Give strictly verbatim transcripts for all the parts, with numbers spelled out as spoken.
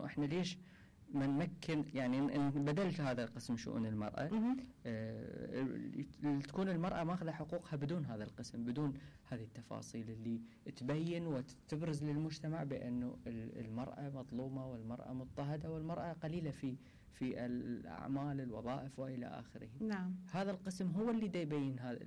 احنا ليش ما نمكن يعني بدلت هذا القسم شؤون المرأة اه تكون المرأة ماخذة حقوقها بدون هذا القسم، بدون هذه التفاصيل اللي تبين وتبرز للمجتمع بأنه المرأة مظلومة والمرأة مضطهدة والمرأة قليلة في في الأعمال الوظائف وإلى آخره. نعم. هذا القسم هو اللي دا يبين هذا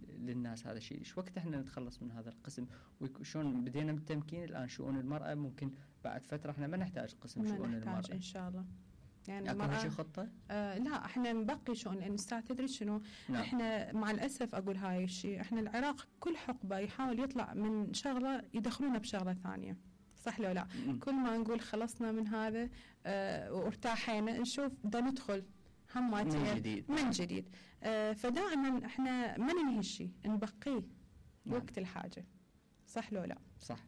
للناس هذا الشيء. ايش وقت احنا نتخلص من هذا القسم وشون بدينا بالتمكين الآن شؤون المرأة؟ ممكن بعد فترة احنا ما نحتاج قسم شؤون المرأة. ما نحتاج إن شاء الله. يعني اكو شيء خطة؟ آه لا احنا نبقي شؤون، لأن أستاذ تدري شنو؟ نعم. احنا مع الأسف أقول هاي الشيء، احنا العراق كل حقبة يحاول يطلع من شغلة يدخلونه بشغلة ثانية. صح لو لا؟ م- كل ما نقول خلصنا من هذا آه وارتاحينا نشوف دا ندخل هماتين من جديد من جديد. آه فدائما احنا ما ننهي الشيء، نبقيه نعم. وقت الحاجة. صح لو لا؟ صح.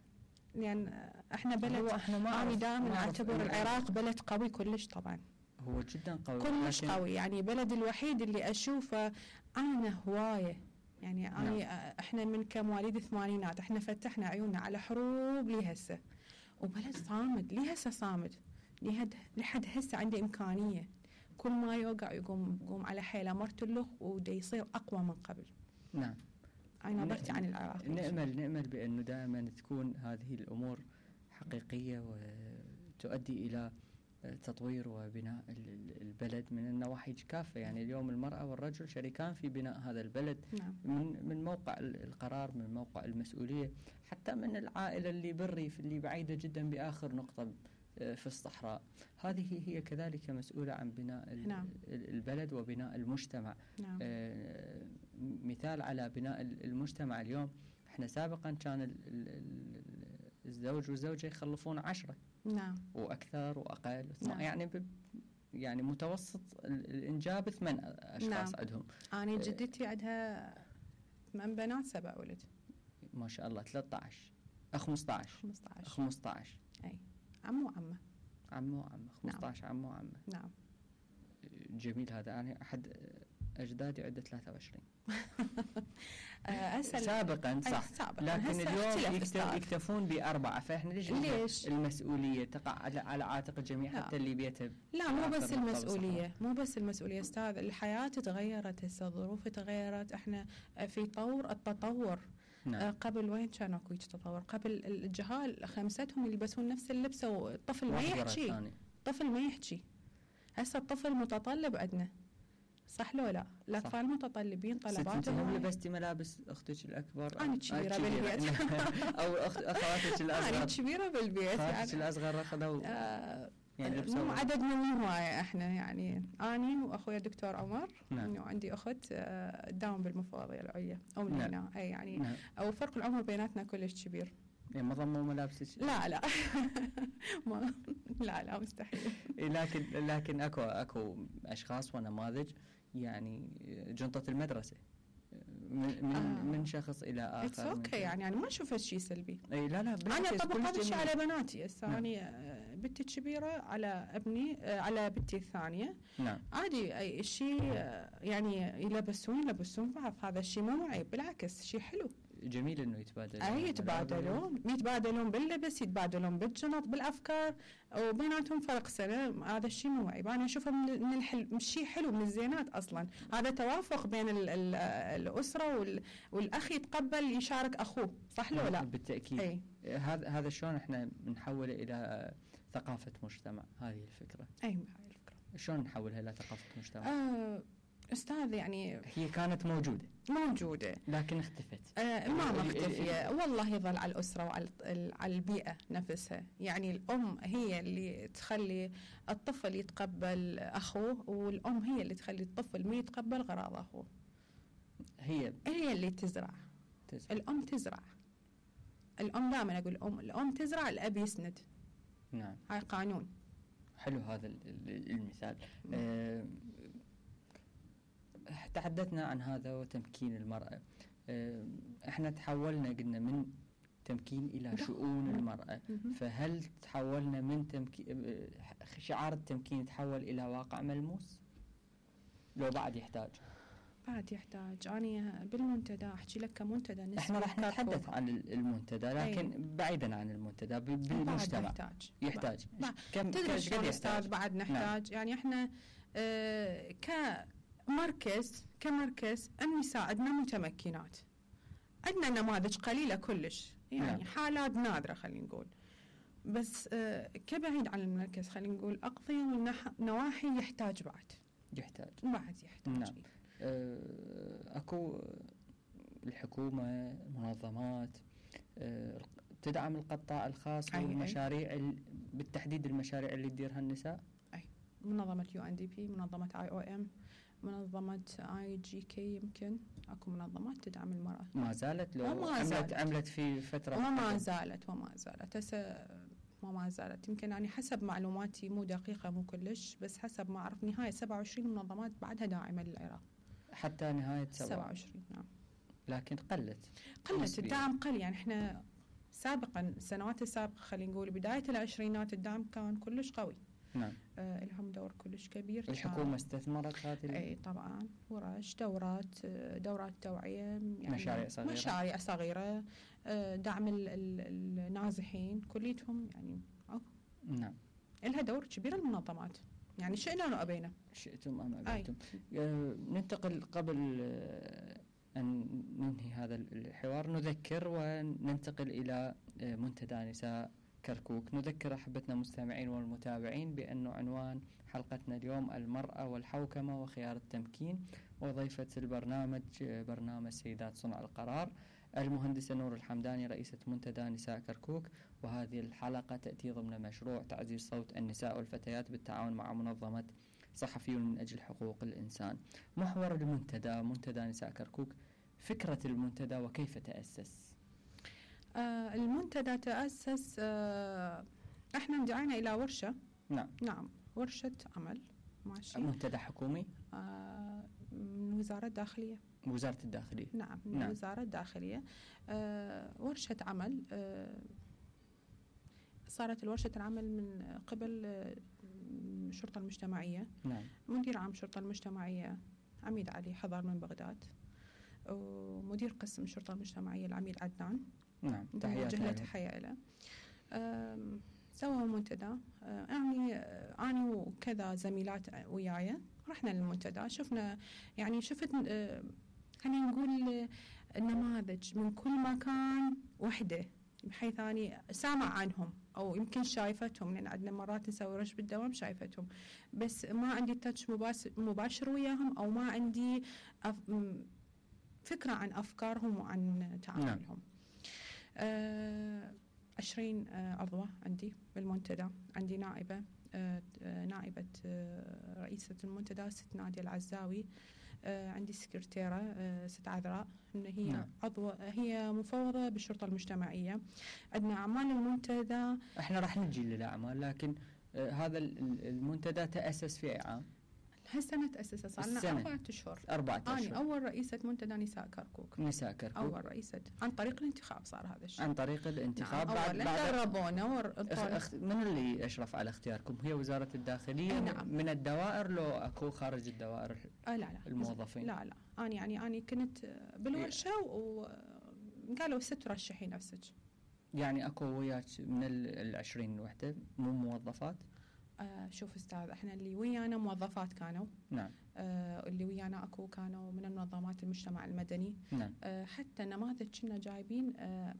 يعني احنا بلد، انا دائما اعتبر العراق بلد قوي كلش طبعا. هو جدا قوي كلش قوي، يعني بلد الوحيد اللي اشوفه انا هوايه يعني نعم. أنا احنا من كمواليد الثمانينات احنا فتحنا عيوننا على حروب لي هسه، وبلد صامد لي هسه صامد لحد هسه عنده امكانيه كل ما يوقع يقوم يقوم على حيله مرتلخ ودا يصير اقوى من قبل. نعم. أنا نبرتي عن العراق. نأمل نأمل بأنه دائما تكون هذه الأمور حقيقية وتؤدي إلى تطوير وبناء البلد من النواحي كافة. يعني اليوم المرأة والرجل شريكان في بناء هذا البلد. نعم. من من موقع القرار، من موقع المسؤولية، حتى من العائلة اللي بالريف اللي بعيدة جدا بآخر نقطة في الصحراء. هذه هي كذلك مسؤولة عن بناء نعم. البلد وبناء المجتمع. نعم. آه مثال على بناء المجتمع اليوم، احنا سابقا كان الزوج والزوجة يخلفون عشرة. نعم. وأكثر وأقل. نعم. يعني يعني متوسط الإنجاب ثمان أشخاص. نعم. عندهم. أنا جدتي عندها ثمان بنات سبع ولد. ما شاء الله. ثلاثة عشر خمسة عشر خمسة عشر أي عمو وعمة. عمو وعمة خمسة عشر. نعم. عمو وعمة. نعم. جميل هذا. يعني أحد أجدادي عنده ثلاثة وعشرين. سابقا صح. سابقاً. لكن اليوم يكتف يكتفون بأربعة. فإحنا ليش, ليش المسؤولية تقع على, على عاتق الجميع؟ لا. حتى اللي بيته. لا مو بس المسؤولية، مو بس المسؤولية أستاذ، الحياة تغيرت هسه، الظروف تغيرت، احنا في طور التطور. نعم. آه قبل وين كان اكو تطور؟ قبل الجهال خمستهم يلبسون نفس اللبسه والطفل ما يحكي. الطفل ما يحكي. هسه الطفل متطلب عندنا. صح لو لا؟ الأطفال متطلبين طلباتهم. هم لبستي ملابس أختك الأكبر؟ أنا كبيرة بالبيت. أو أخت أخواتك الأصغر؟ أنا كبيرة بالبيت. أخواتك الأصغر أخذوا آه يعني مو عددنا مو هواية احنا، يعني أني وأخويا الدكتور عمر. نعم. وعندي أخت تداوم بالمفوضية العليا أو من هنا. أي يعني نعم. أو فرق العمر بيناتنا كلش كبير. يعني ما ضموا ملابسك؟ لا لا ما لا لا مستحيل. لكن لكن اكو اكو اشخاص ونماذج يعني جنطة المدرسة من من, آه. من شخص الى اخر. اتس اوكي. يعني انا ما اشوف شيء سلبي. اي لا لا انا طبقت الشيء على بناتي هسه. نعم. انا بنتي الكبيره على ابني على بنتي الثانيه. نعم. عادي اي شيء يعني يلبسون يلبسون بعض، هذا الشيء مو عيب، بالعكس شيء حلو. جميل انه يتبادلون. اي يتبادلون يتبادلون باللبس، يتبادلون بالجنط، بالافكار، وبيناتهم فرق سنه. هذا الشيء مو عيب، انا اشوفه من من الحل شيء حلو، من الزينات اصلا. هذا توافق بين ال ال الاسره وال والاخ يتقبل يشارك اخوه. صح لو لا؟ بالتاكيد. أي. هذا هذا شلون احنا بنحوله الى ثقافه مجتمع؟ هذه الفكره. اي هاي الفكره. شلون نحولها الى ثقافه مجتمع؟ آه أستاذ يعني هي كانت موجودة موجودة لكن اختفت. آه ما مختفية والله. يظل على الأسرة وعلى على البيئة نفسها. يعني الأم هي اللي تخلي الطفل يتقبل أخوه، والأم هي اللي تخلي الطفل ما يتقبل غراض أخوه. هي هي اللي تزرع. تزرع. الأم تزرع. الأم دائما أقول الأم الأم تزرع، الأب يسند. نعم. هاي قانون. حلو هذا المثال. آه تحدثنا عن هذا وتمكين المرأة. احنا تحولنا قلنا من تمكين إلى شؤون المرأة، فهل تحولنا من تمكين شعار التمكين تحول إلى واقع ملموس لو بعد يحتاج؟ بعد يحتاج. أنا بالمنتدى أحكي لك كمنتدى نسبي. احنا راح نتحدث عن المنتدى لكن أي. بعيدا عن المنتدى بالمجتمع يحتاج يحتاج كم تدري شلون أستاذ بعد نحتاج. نعم. يعني احنا اه كمركز كمركز النساء عندنا متمكنات، عندنا نماذج قليلة كلش يعني نعم. حالات نادرة خلينا نقول، بس اه كبعيد عن المركز خلينا نقول أقضية والنواحي يحتاج بعد يحتاج بعد يحتاج نعم. اه اكو الحكومة منظمات اه تدعم القطاع الخاص والمشاريع بالتحديد المشاريع اللي تديرها النساء. أي منظمة يو ان دي بي، منظمة اي او ام، منظمة اي جي كي، يمكن اكو منظمات تدعم المرأة. ما زالت لو وما عملت زالت. عملت في فترة وما زالت وما زالت هسه وما زالت يمكن يعني حسب معلوماتي مو دقيقة مو كلش، بس حسب ما أعرف نهاية سبعة وعشرين منظمات بعدها داعمة للعراق حتى نهاية سبعة وعشرين. نعم لكن قلت قلت الدعم قل. يعني احنا سابقا السنوات السابقة خلينا نقول بداية العشرينات الدعم كان كلش قوي. نعم آه لهم دور كلش كبير. الحكومة استثمرت هذه اي طبعا، ورش، دورات دورات توعية، يعني مشاريع صغيرة مشاريع صغيرة، آه دعم ال ال النازحين كليتهم يعني. أو. نعم لها دور كبير المنظمات، يعني شئنا أو أبينا شئتم أم أبيتم. آه ننتقل قبل آه أن ننهي هذا الحوار نذكر وننتقل إلى آه منتدى نساء كركوك. نذكر أحبتنا المستمعين والمتابعين بأنه عنوان حلقتنا اليوم المرأة والحوكمة وخيار التمكين، وضيفة البرنامج برنامج سيدات صنع القرار المهندسة نور الحمداني رئيسة منتدى نساء كركوك. وهذه الحلقة تأتي ضمن مشروع تعزيز صوت النساء والفتيات بالتعاون مع منظمة صحفيون من أجل حقوق الإنسان. محور المنتدى منتدى نساء كركوك، فكرة المنتدى وكيف تأسس؟ آه المنتدى تأسس آه احنا اندعينا إلى ورشة. نعم نعم ورشة عمل ماشي. منتدى حكومي آه من وزارة الداخلية. وزارة الداخلية نعم من نعم. وزارة الداخلية. آه ورشة عمل آه صارت الورشة العمل من قبل آه الشرطة المجتمعية. نعم. مدير عام الشرطة المجتمعية عميد علي حضر من بغداد، ومدير قسم الشرطة المجتمعية العميد عدنان. نعم تحياتي له تحية له. سووا منتدى، يعني أنا وكذا زميلات وياي رحنا للمنتدى، شفنا يعني شفت خلينا نقول نماذج من كل مكان وحدة، بحيث أني سامع عنهم أو يمكن شايفتهم، لأن عندنا مرات نسوي رش بالدوام شايفتهم، بس ما عندي تاتش مباشر وياهم أو ما عندي فكرة عن أفكارهم وعن تعاملهم. آه عشرين آه عضوة عندي بالمنتدى، عندي نائبة آه نائبة آه رئيسة المنتدى ست نادية العزاوي، آه عندي سكرتيرة آه ست عذراء، هي نعم. عضوة هي مفوضة بالشرطة المجتمعية. عندنا أعمال المنتدى، احنا راح نجي للأعمال، لكن آه هذا المنتدى تأسس في أي عام؟ هالسنة تأسس، صار لنا أربعة أشهر. أربعة أشهر. أنا أول رئيسة منتدى نساء كركوك. نساء كركوك. أول رئيسة عن طريق الانتخاب صار هذا الشيء. عن طريق الانتخاب. نعم. بعد بعد دربونا ور... اخ... من اللي أشرف على اختياركم؟ هي وزارة الداخلية؟ نعم. من الدوائر لو أكو خارج الدوائر؟ آه لا لا الموظفين. لا لا أنا يعني أنا كنت بالورشة وقالوا ست ترشحي نفسك. يعني أكو وياك من العشرين وحدة مو موظفات؟ آه شوف أستاذ، احنا اللي ويانا موظفات كانوا. نعم. آه اللي ويانا اكو كانوا من المنظمات المجتمع المدني. نعم. آه حتى نماذج كنا جايبين آه